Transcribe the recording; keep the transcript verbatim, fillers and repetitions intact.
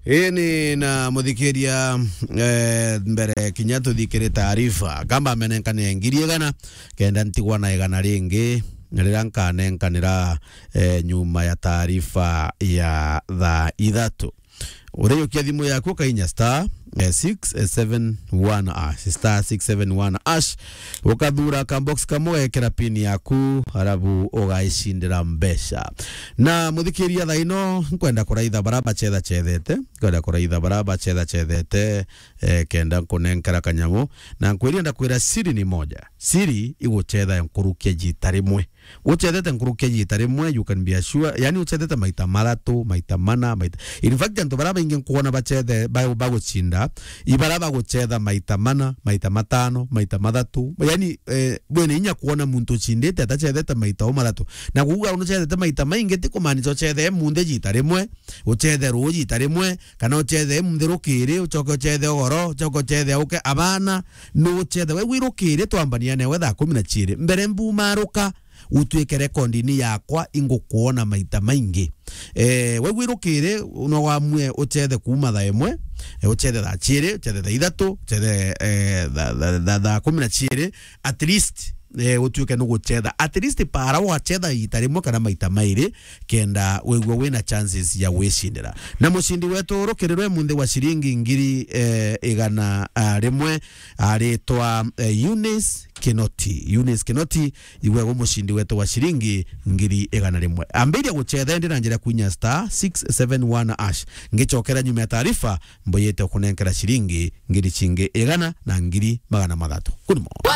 Ini na muthikiria, eh, mbere kinya tuthikire taarifa, kamba amenenkane ngiri igana, kenda ntigwa na igana ringi, na riria nkanenkanira, eh, nyuma ya taarifa ya thaa ithatu. Ureyukia thimu yaku ukainya star, eh, six seven one hash, star six seven one hash, ukathura ka box kamwe, ugekira pin yaku, arabu ugaicindira mbeca. Na muthikiria thaa ino, nkwenda kuraitha bara bacethacethete, nkwenda kuraitha bara bacethacethete, eh, kenda nkunenkera kanyamu, na nkwiria ndakwira siri ni moja. Siri igucetha nkurukia jita rimwe. Ucethete nkurukia jita rimwe, you can be assured, yani ucethete maita mathatu, maita mana, maita, in fact, antu bara baingi nkuona bacethe, ba-, bagucinda, ibara bagucetha maita mana, maita matano, maita mathatu. Yani, eh, bwene inya kuona muntu ucindite atacethete maita o mathatu. Na kuuga ucethete maita maingi ti kumaanisha ucethe munthe jita rimwe, ucethe ruu jita rimwe, kana ucethe munthe rukiri, ucoke ucethe ugoro, ucoke ucethe auke. Abana, nucethe. We wirukiri twambania newe thaa kumi na ciiri. Mbere mbumaruka, utuike rekondini yakwa, ingukuona maita maingi. Eh, we wirukiri, no wamue ucethe kuuma thaa imwe, eh, ucethe thaa ciiri, ucethe thaa ithatu, ucethe, eh, tha-, tha-, tha-, thaa kumi na ciiri, at least, eh, utuike nugucetha. At least para wacetha ita rimwe kana maita mairi, kenda wigua wina chances ya gwicindira. Na mucindi wetu rukirirwe munthi wa ciringi ngiri, eh, igana, ah, rimwe, aritwa, eh, Eunice Kinoti. Eunice Kinoti, igwe gumucindi wetu wa ciringi ngiri igana rimwe. Ambiria gucetha indi na njira kwinya star six seven one hash. Ngicokera nyuma ya taarifa, mbuyite kunenkera ciringi ngiri cingi igana na ngiri magana mathatu. Good morning.